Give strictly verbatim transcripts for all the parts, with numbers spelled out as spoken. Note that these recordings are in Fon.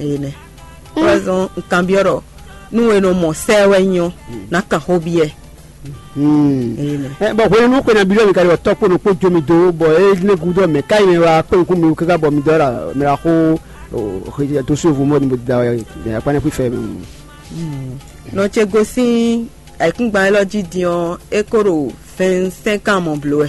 Enɛ. Par exemple, un kanbyɔ́ ɖɔ nú e nɔ mɔ sɛ wɛ nyí ɔ́, ná kan xó byɔ́ ɛ. Enɛ. Ɛ, bɔn hwenu nú xwe nabí ɖɔ mi ka ɖi bɔ tɔkpo nɔ kpó jó mi dó bɔ é lé gúdo mɛ ká yi mɛ wá kpé nukún mi káká bɔ mi dɔ la mɛ la xó to so vo mɔ ni da akpanɛ fí fɛ mi. Nɔ ce gosín ayǐkúngban élɔ́ jí din ɔ́, é kó ɖo vingt-cinq ans mɔ bló wɛ.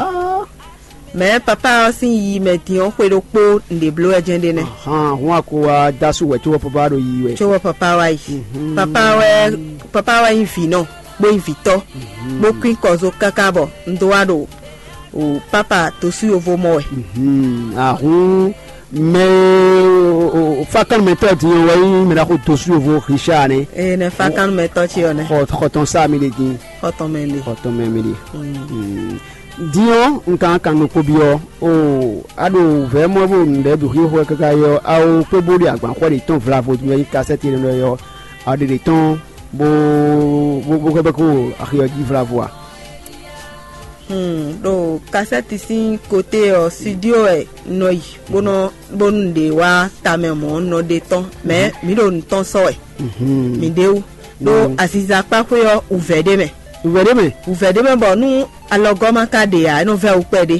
Mɛ̌ papá ɔ́ sín yiyi mɛ din ɔ́, xwe ɖokpó nǔɖé bló wɛ jɛ́n ɖe nɛ́. Hɔn a ko wá dá sú wɛ cóbɔ papá ɖo yiyi wɛ. Cóbɔ papá wá yi. Papá wɛ papá wɛ nyí vǐ nɔ, bó nyí vǐtɔ́, bó kún kɔzo káká bɔ un dó wá ɖo o pápá tosú yovo mɔ wɛ. Ahun mɛ fákánmɛtɔ́ din ɔ́ wɛ nyí mɛ ɖaxó tosú yovo Richard nɛ́. Ee nɛ fákánmɛtɔ́ ce ɔ́ nɛ́. Xɔ xɔtɔn sá mi ɖe din. Xɔtɔn mɛ ɖe. Xɔtɔn mɛ mi ɖe. Din ɔ́, un kan kan nukpó byɔ́. O a ɖo vɛ̌ mɔ bó nǔɖé bǐ xwixwɛ káká yɔ awo kpé bó ɖi agban xɔ ɖe tɔn vlavo din ɔ́ nyí kasɛ́ti énɛ́ ɖɔ yɔ a ɖe ɖe tɔn bó bó bó xwɛ bɛ́ kó axi ɔ́ jí vlavo a. Hmm, ɖo kasɛ́ti sín kote ɔ́, studio wɛ un nɔ yi bó nɔ bónú un ɖe wá tamɛ mɔ̌ un nɔ ɖe tɔn, mɛ mǐ ɖo nǔ tɔn sɔ́ wɛ. Mǐ ɖe wú ɖó aziza kpáxwé ɔ́ wǔvɛ́ ɖé mɛ. Wǔvɛ́ ɖé mɛ. Wǔvɛ́ ɖé mɛ bɔ nú alɔgɔ́ ma ka ɖe ǎ, é nɔ vɛ́ wú kpɛɖé.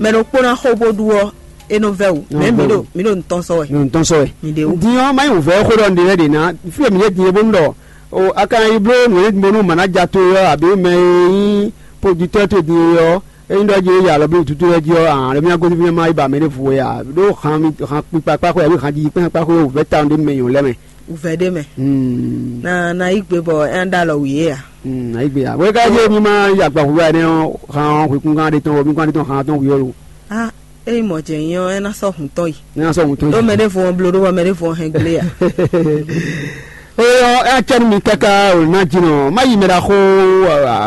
Mɛ ɖokpó ná xo bó ɖu ɔ́, é nɔ vɛ́ wú. Mɛ mǐ ɖo mǐ ɖo nǔ tɔn sɔ́ wɛ. Nǔ tɔn sɔ́ wɛ. Mǐ ɖe wú. Din ɔ́, má nyí wǔvɛ́ xó ɖɔ un ɖe lɛ́ɛ ɖě ná. Fí e mǐ ɖe din é bónú ɖɔ o a ka nɔ yi bló nǔ e bó nú mǎnája towe ɔ́, abǐ mɛ e nyí podutɔ́ towe din é ɔ́, ényí ɖɔ jí é ya alɔ bló wǔtútú lɛ́ɛ jí ɔ́, ǎ lɔ mì ná gosín fínɛ́ má yi ba mɛ ɖěvo wɛ ǎ, ɖó han mi han kpikpa kpáxwé abǐ han jiji kpɛ́n kpáxwé wǔvɛ́ tawun ɖé mɛ nyɔ̌ lɛ́ɛ mɛ. Wǔvɛ́ ɖé mɛ. Hmm. Na na yí gbe bɔ é ná ɖó alɔ wǐ é ǎ. Hmm, ayí gbe ǎ. Wé ká yé mi ma yi agbaxu wá ɛnɛ ɔ́, han ɔ́ hwekún gán ɖé tɔn, mi gán ɖé tɔn han tɔn wǐ ɔ́ lo. Ah, ényí mɔ̌ jɛ nyí ɔ́, é ná sɔ́ hun tɔn yi. Ní a sɔ́ hun tɔn Ɖó yi. Mɛ ɖěvo ɔ́ bló ɖó bɔ mɛ ɖěvo ɔ́ hɛn gblé ǎ. Eyɔ é acɛ́nú mi káká wǒ ná jínɔ má yi mɛ ɖaxó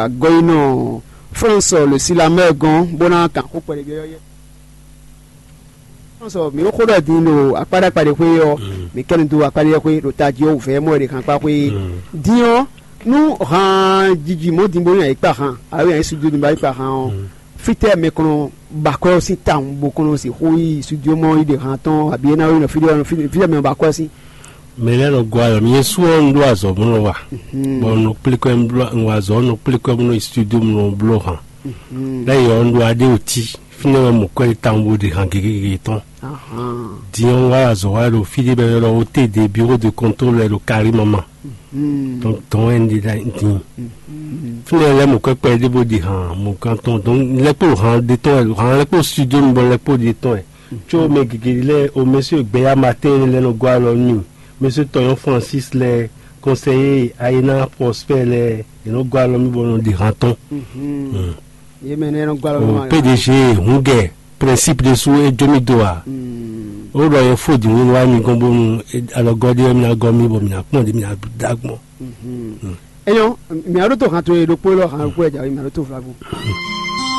agɔyinɔ France le silamɛ gɔn bó ná kan xó kpɛɖé byɔ́yɔ́ yɛ. France mi xó ɖɔ din ɖo akpáɖakpá ɖé xwé ɔ́, mi kɛ́nu dó akpáɖé xwé ɖo tají ɔ́ wǔvɛ́ mɔ ɖě kan kpá xwé. Din ɔ́, nú han jiji mɔ̌ din bónú yǎ yi kpa han, alo yǎ yi sujú din bá yi kpa han ɔ́, fítɛ́ mɛ kɔn nɔ ba akwɛ́ ɔ́ sín tawun bó kɔn nɔ sixú yi sujú mɔ yi ɖe han tɔn abǐ é ná yi nɔ fí ɖé ɔ́, fítɛ́ mɛ nɔ ba akwɛ́ ɔ́ sín. Mɛ lɛ́ɛ nɔ gɔ́ ayɔ mì Yɛsu ɔ́ un ɖó azɔ̌ bó nɔ wa, bɔ un nɔ kplé kɔ́ un wa azɔ̌ un nɔ kplé kɔ́ bó nɔ yi studio bó nɔ bló han. Lɛ́ yɔ un ɖó aɖé ò tí fínɛ́ wɛ mɔ kɔ́ yi tawun bó ɖe han gěgé tɔn. Din ɔ́ un wá azɔ̌ wá ɖo fí ɖé bɔ è nɔ ylɔ́ O T D, bureau de contrôle wɛ ɖo Karimama. Donc dɔn wɛ un ɖe ɖa din. Fínɛ́ lɛ́ mɔ kɔ́ kpɛɖé bó ɖe han mɔ gán tɔn, donc lɛ́ kpó han ɖé tɔn wɛ, han lɛ́ kpó studio mi bɔ lɛ́ kpó ɖe tɔn wɛ. Tso mɛ gěgé lɛ́ɛ o mɛ sɔ́ gbɛ́yá matin lɛ́ɛ nɔ gɔ́ alɔ nú mɛ sɔ́ tɔnyɔ́ Francis lɛ́ɛ, conseiller Ayena Prosper lɛ́ɛ, è nɔ gɔ́ alɔ mì bɔ nɔ ɖi han tɔn. Yé mɛ nɛ nɔ gɔ́ alɔ nú O P D G hungɛ principe ɖésú é jó mì dó a. Ó ɖɔ yɛ fó dǐn wíwá mi gɔ́n bónú alɔgɔ́ ɖé wɛ mi ná gɔ́ mì bɔ mi ná kpɔ́n ɖě mi ná dá gbɔn. Enyɔ, mǐ aɖó tó han towe ɖokpó élɔ́ han ɖokpó wɛ jǎwe mǐ aɖó tó vlavo.